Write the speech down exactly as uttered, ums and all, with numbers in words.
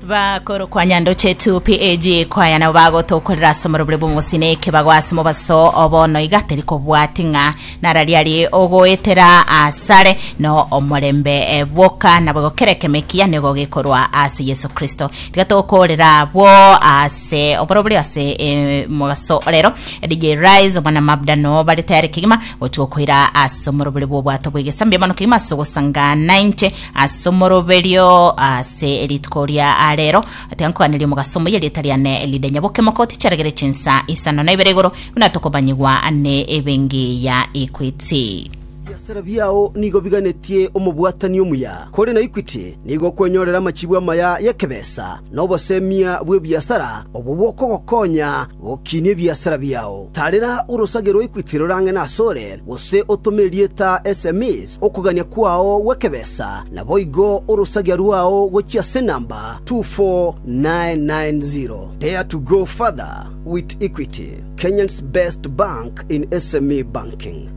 Bakorokwa Nyandoche two P A G kwaya nabo bagotokorera ase omorobere bw'omosine ekebago ase mobaso obono iga teri kobwati ng'a narari ari ogoetera asare no omorembe eh, bwoka nabo gokerekemekia nigo gekorwa ase Yesu Kristo. Tiga tokorera abwo ase oborobere ase eh, mobaso rero. D J Rise omwana Mabda no bare tayari kegima gotuokoira ase omorobere bw'obwato bw'egesambia mono kegima ase ogosangana inche ase omoroberio ase rituko ria arero. Tiga nkoganeria omogaso omuya. Erieta riane Elide Nyaboke Mokoti. Chiaragere chinsa isano na ibere igoro buna tokomanyigwa ne ebengi ya Equity. Biasara biao nigo biganetie omobwatani omuya. Kore na Equity nigo okwenyorera amachibu amaya y'ekebesa na obosemia bw'ebiasara obwo bwokogokonya gokinia ebiasara biao. Tarera orosage rwa Equity rorang'e nasore gose otome erieta S M Es okogania kwao gw'ekebesa naboigo orosagia rwao gochia ase namba two four nine nine zero. Dare to go further with Equity, Kenya's best bank in S M E banking.